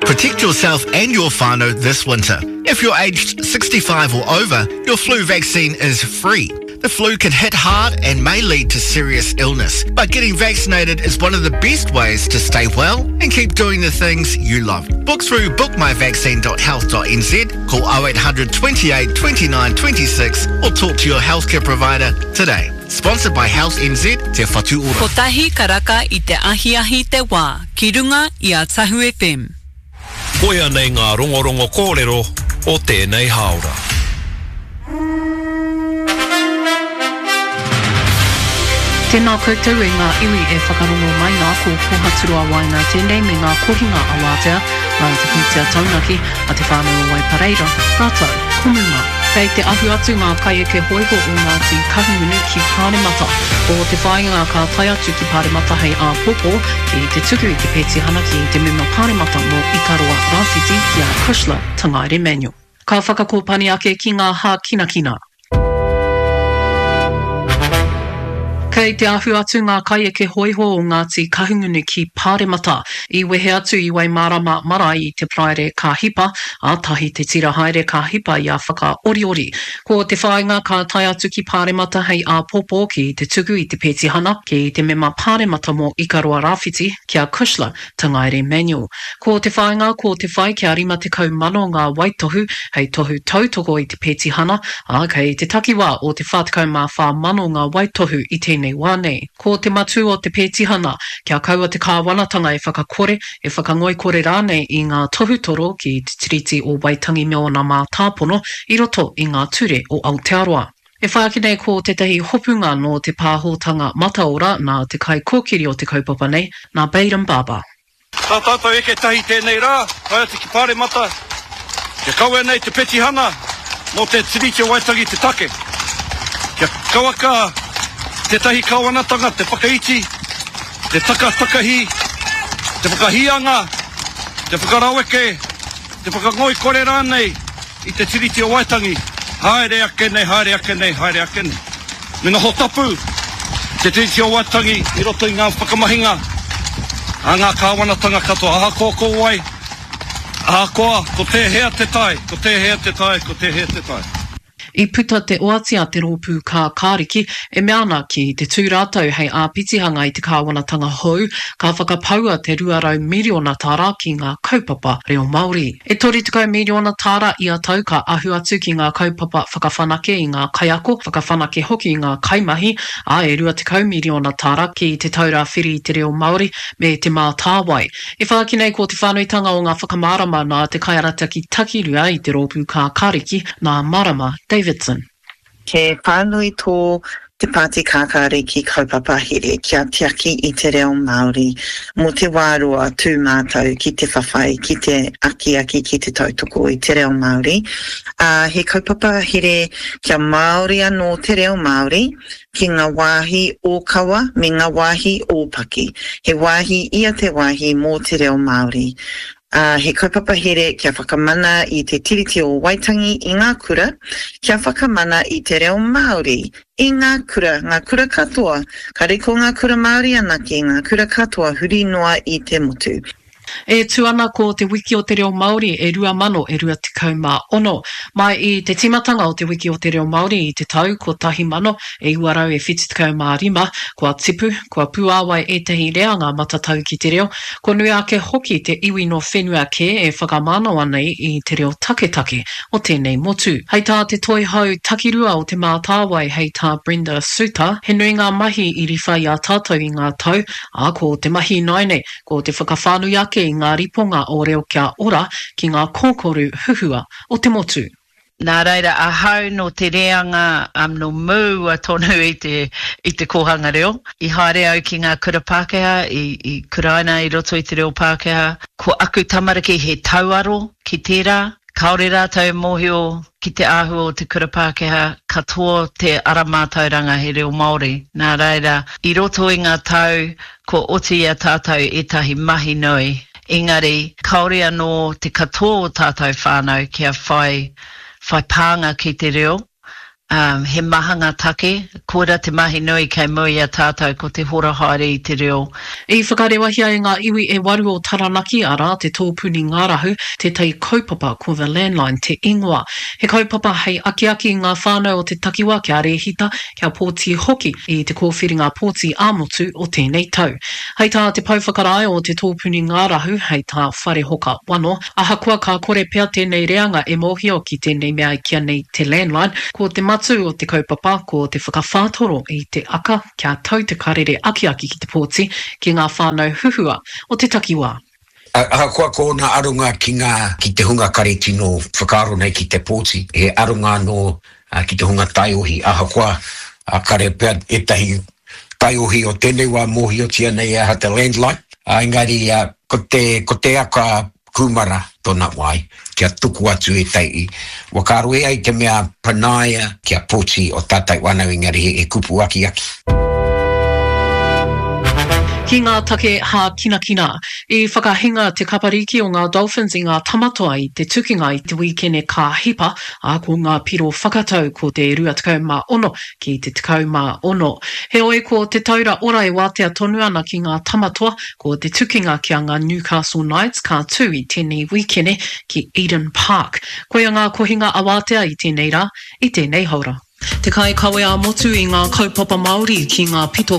Protect yourself and your whānau this winter. If you're aged 65 or over, your flu vaccine is free. The flu can hit hard and may lead to serious illness, but getting vaccinated is one of the best ways to stay well and keep doing the things you love. Book through bookmyvaccine.health.nz, call 0800 28 29 26 or talk to your healthcare provider today. Sponsored by Health NZ, Te Whatu Ora. Kotahi karaka i te ahiahi te wā, ki runga i a Tahu FM. Koia nei ngā rongorongo kōrero o tēnei hāora. Tēnā koutou e ngā iwi e whakarongo mai nā, ko Kohaturoa Waenga tēnei me ngā kohinga awatea nā te pūtea taunaki a te whānau o Waipareira rātou ko Muma. Kei te ahu atu ngā kaieke hōiho o Ngāti Kahungunu ki Pāremata. Ko te whāinga ka tae atu ki Pāremata hei āpōpō ki te tuku i te petihana ki te mema Pāremata mō Ikaroa Rāwhiti ki a Cushla Tangaere-Manuel. Ka whakakōpani ake ki ngā hākinakina. Kei te ahu atu ngā kaieke hōiho o Ngāti Kahungunu ki Pāremata. I wehe atu i Waimārama marae i te Paraire ka hipa, ā, tahi te tira haere ka hipa i a Whakaoriori. Ko te whāinga ka tae atu ki Pāremata hei āpōpō ki te tuku i te petihana ki te mema Pāremata mō Ikaroa Rāwhiti, ki a Cushla Tangaere Manuel. Ko te whāinga ko te whai kia 50 mano ngā waitohu hei tohu tautoko i te petihana, ā, kei te takiwā o te 44 mano ngā waitohu i tēnei wā nei. Ko te matū o te petihana, kia kaua te kāwanatanga e whakakore, e whakangoikore rānei i ngā tohutoro ki te Tiriti o Waitangi me ōna mātāpono i roto i ngā ture o Aotearoa. E whai ake nei ko tētahi hopunga nō te pāhotanga mataora nā te kaikōkiri o te kaupapa nei, nā Bayram Baba. Tā tātou eke tahi tēnei rā, tae atu ki Pāremata, kia kawea nei te petihana mō te Tiriti o Waitangi te take. Kia kauaka tētahi kāwanatanga te whakaiti, te takatakahi, te whakahīanga, te whakaraweke, te whakangoikore rānei I te Tiriti o Waitangi, haere ake nei, haere ake nei, haere ake nei. Me noho tapu te Tiriti o Waitangi i roto i ngā whakamahinga a ngā kāwanatanga katoa, ahakoa ko wai, ahakoa ko tēhea te tae, ko tēhea te tae, ko tēhea te tae. I puta te oati a te Rōpū Kākāriki e mea ana ki te tū rātou hei āpitihanga i te kāwanatanga hou, ka whakapaua te 200 miriona tāra ki ngā kaupapa reo Māori. E 30 miriona tāra ia tau ka ahu atu ki ngā kaupapa whakawhanake i ngā kaiako, whakawhanake hoki i ngā kaimahi, ā, e 20 miriona tāra ki Te Taura Whiri i te Reo Māori me Te Mātāwai. E whāki nei ko te whānuitanga o ngā whakamārama nā te kaiarataki takirua i te Rōpū Kākāriki, nā Marama Davidson. He whānui tō Te Pāti Kākāriki kaupapa here kia tiaki i te reo Māori mō te wā roa tū mātou ki te whawhai, ki te akiaki, ki te tautoko i te reo Māori. Ā, he kaupapa here kia Māori anō te reo Māori ki ngā wāhi ōkawa me ngā wāhi ōpaki. He wāhi ia te wāhi mō te reo Māori. Ā, he kaupapa here kia whakamana i Te Tiriti o Waitangi i ngā kura, kia whakamana i te reo Māori i ngā kura, ngā kura katoa, kāre ko ngā kura Māori anake, ngā kura katoa huri noa i te motu. E tū ana ko Te Wiki o te Reo Māori e 2000 e 26. Mai i te tīmatanga o Te Wiki o te Reo Māori i te tau 1975, kua tipu, kua puāwai ētahi reanga matatau ki te reo, Kua nui ake hoki te iwi nō whenua kē e whakamānawa nei i te reo taketake o tēnei motu. Hei tā te Toihau Takirua o Te Mātāwai hei tā Brenda Suter, he nui ngā mahi i riwha i a tātou i ngā tau, ā, ko te mahi ināianei, ko te whakawhānui ake i ngā riponga o Reo Kia Ora ki ngā kōkoru huhua o te motu. Nā reira, ahau nō te reanga nō mua tonu i te, i te kōhanga reo. I haere au ki ngā kura Pākehā, i, i kuraina i roto i te reo Pākehā. Ko aku tamariki he tauaro ki tērā. Kāore rātou e mōhio ki te āhua o te kura Pākehā, katoa te ara mātauranga he reo Māori. Nā reira, i roto i ngā tau, kua oti i a tātou ētahi mahi nui. Engari, kāore anō te katoa o tātou whānau kia whai, whai pānga ki te reo. Um, he maha ngā take, koira te mahi nui kei mua i a tātou ko te hora haere i te reo. I whakarewahia e ngā iwi e waru o Taranaki, arā, te Tōpuni Ngārahu, tētahi kaupapa ko The Landline te ingoa. He kaupapa hei akiaki i ngā whānau o te takiwa kia rēhita, kia pōti hoki i te kōwhiringa pōti ā-motu o tēnei tau. Hei tā te pouwhakarae o te Tōpuni Ngārahu, hei tā Wharehoka Wano, Ahakoa ka kore pea tēnei reanga e mōhio ki tēnei mea e kīa nei te landline, ko te matū o te kaupapa ko te whakawhātoro i te aka kia tau te karere akiaki ki te pōti ki ngā whānau huhua o te takiwā. Ahakoa ko ōna aronga ki ngā, ki te hunga kare tino whakaaro nei ki te pōti, he aronga anō ki te hunga taiohi, ahakoa kare pea ētahi taiohi o tēnei wā mōhiotia nei e aha te landline, engari ko te, ko te aka kūmara tōna wai kia tuku atu ētahi whakaaro e ai te mea panaia kia poti o tātou whānau engari he kupu akiaki. Ki ngā take hākinakina, i whakahinga te kapariki o ngā Dolphins i ngā Tamatoa i te tukinga i te wīkene ka hipa, ā, ko ngā piro whakatau ko te 26 ki te 16. Heoi, ko te taura ora e wātea tonu ana ki ngā tamatoa, ko te tukinga ki a ngā Newcastle Knights ka tū i tēnei wīkene ki Eden Park. Koia ngā kohinga awātea i tēnei rā, i tēnei haora. Te kaikawe ā-motu i ngā kaupapa Māori ki ngā pito.